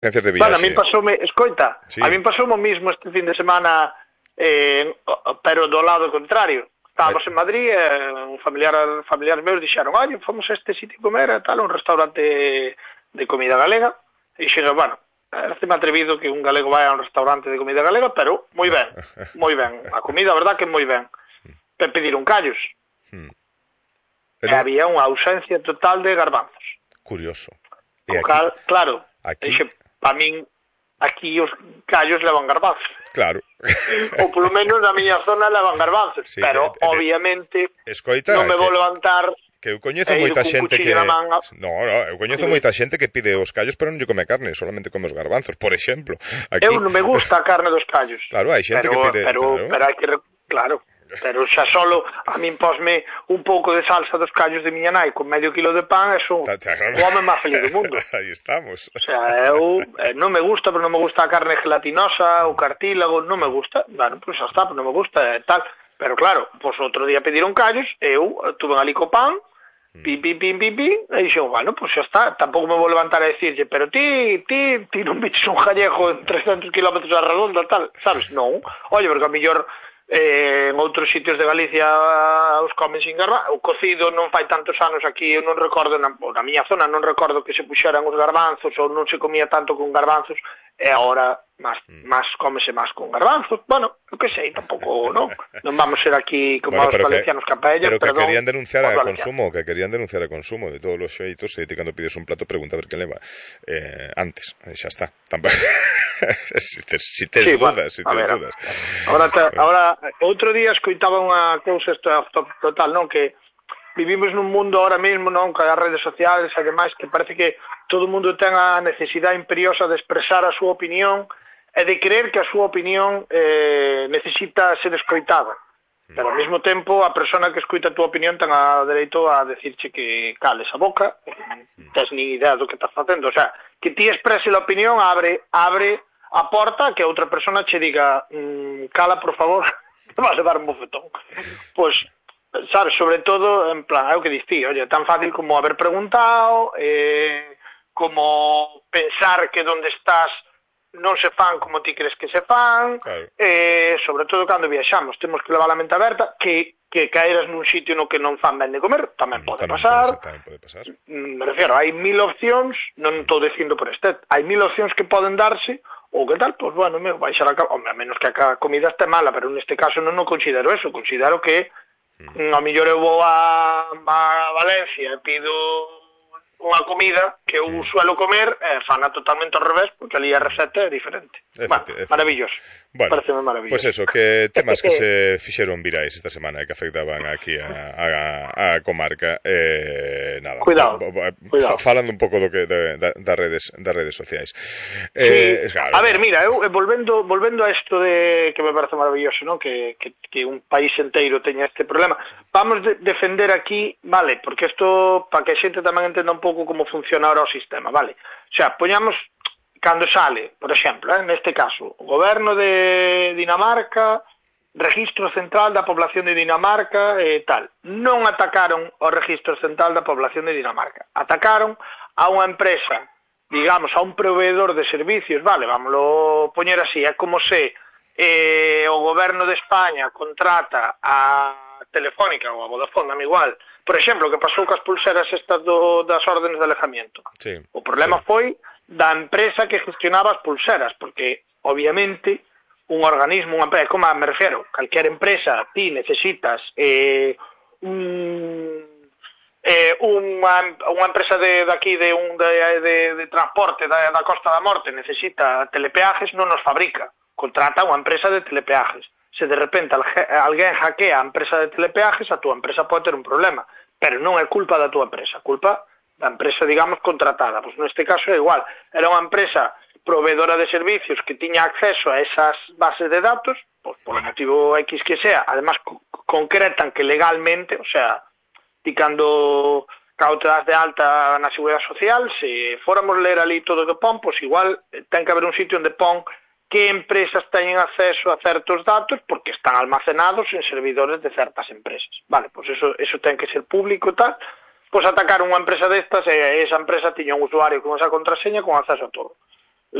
agencias de Bueno, a viaxe. min pasoume, escoita, Sí. a min pasoume o mismo este fin de semana, pero do lado contrario. Estábamos en Madrid, familiares meus dixeron, oye, fomos a este sitio comer, tal, un restaurante de comida galega, e dixeron, bueno, parece-me atrevido que un galego vai a un restaurante de comida galega, pero moi ben, a comida, a verdad que moi ben. Pediron callos, e había unha ausencia total de garbanzos. Curioso. O cal, claro, aquí... dixe, para min, aquí os callos levan garbanzos. Claro. Ou polo menos na miña zona levan garbanzos, sí, pero obviamente escoita, non me vou levantar que eu coñezo moita xente que eu coñezo moita xente que pide os callos pero non lle come carne, solamente come os garbanzos, por exemplo. Aquí... Eu non me gusta a carne dos callos. Claro, hai xente que pide, pero hai que, claro, pero xa solo a min posme un pouco de salsa dos callos de miña nai con medio kilo de pan, é un home máis feliz do mundo. Aí estamos. O sea, eu non me gusta, pero non me gusta a carne gelatinosa, o cartílago, non me gusta. Bueno, pois xa está, pero non me gusta e tal. Pero claro, pois outro día pediron callos, eu tuve ali co pan, pim, e dixo, bueno, pois xa está, tampouco me vou levantar a decirlle, pero ti non viches un gallego en 300 kilómetros a redonda, tal, sabes? Non. Oye, porque a mellor en outros sitios de Galicia os comen sin garbanzos. O cocido non fai tantos anos aquí, eu non recordo, na miña zona non recordo que se puxeran os garbanzos ou non se comía tanto con garbanzos, e agora máis comese máis con garbanzos. Bueno, eu que sei, tampouco, non vamos ser aquí como os valencianos capaellas, pero que querían denunciar a consumo de todos os xeitos, e ti cando pides un plato pregunta a ver que leva antes, xa está. Si tes dudas. Ahora, outro día escoitaba unha cousa, isto é total, non, que vivimos nun mundo ahora mesmo, non, con as redes sociales e demais, que parece que todo o mundo ten a necesidade imperiosa de expresar a súa opinión e de creer que a súa opinión necesita ser escoitada. Pero ao mesmo tempo a persona que escoita a túa opinión ten a dereito a decirche que cales a boca, non tens ni idea do que estás facendo. O sea, que ti exprese a opinión abre a porta que outra persona che diga cala, por favor, te vas a dar un bofetón. Pois, sabes, sobre todo, en plan, é o que dicía, oye, tan fácil como haber preguntado, como pensar que donde estás non se fan como ti crees que se fan, claro. Sobre todo cando viaxamos, temos que levar a mente aberta, que caeras nun sitio no que non fan ben de comer, tamén pode pasar. Me refiero, hai 1000 opcións, non estou dicindo por este, hai 1000 opcións que poden darse, ou que tal, pois bueno, baixar a menos que a comida este mala, pero neste caso non considero eso, considero que a mellor eu vou a Valencia e pido unha comida que eu suelo comer fana totalmente ao revés, porque ali a receta é diferente. Maravilloso. Bueno, pareceme maravilloso. Pues eso, que temas que se fixeron virais esta semana e que afectaban aquí a comarca, nada. Cuidado. Falando un pouco do que das redes sociais. Sí. Claro, a ver, mira, eu volvendo a isto de que me parece maravilloso, ¿no? Que un país inteiro teña este problema. Vamos defender aquí, vale, porque isto para que a xente tamén entenda un pouco como funciona ahora o sistema, vale? O sea, poñamos cando sale, por exemplo, neste caso, o goberno de Dinamarca, registro central da población de Dinamarca e tal. Non atacaron o registro central da población de Dinamarca. Atacaron a unha empresa, digamos, a un proveedor de servicios, vale, vámoslo poñer así, é como se o goberno de España contrata a Telefónica ou a Vodafone, dame igual, por exemplo, que pasou cas pulseras estas das órdenes de alejamiento. Sí, o problema foi da empresa que gestionaba as pulseras, porque, obviamente, un organismo, unha empresa, como me refiero, calquer empresa, ti necesitas unha empresa de aquí de transporte da Costa da Morte necesita telepeajes, non os fabrica, contrata unha empresa de telepeajes. Se de repente alguén hackea a empresa de telepeajes, a túa empresa pode ter un problema, pero non é culpa da túa empresa, culpa da empresa, digamos, contratada. Pois neste caso é igual, era unha empresa proveedora de servicios que tiña acceso a esas bases de datos, pois por motivo X que sea, además concretan que legalmente, o sea, ti cando te das de alta na Seguridade Social, se fóramos ler ali todo o que pon, pois igual ten que haber un sitio onde pon que empresas teñen acceso a certos datos porque están almacenados en servidores de certas empresas. Vale, pois eso ten que ser público e tal. Pois atacar unha empresa destas e esa empresa tiña un usuario con esa contraseña con acceso a todo.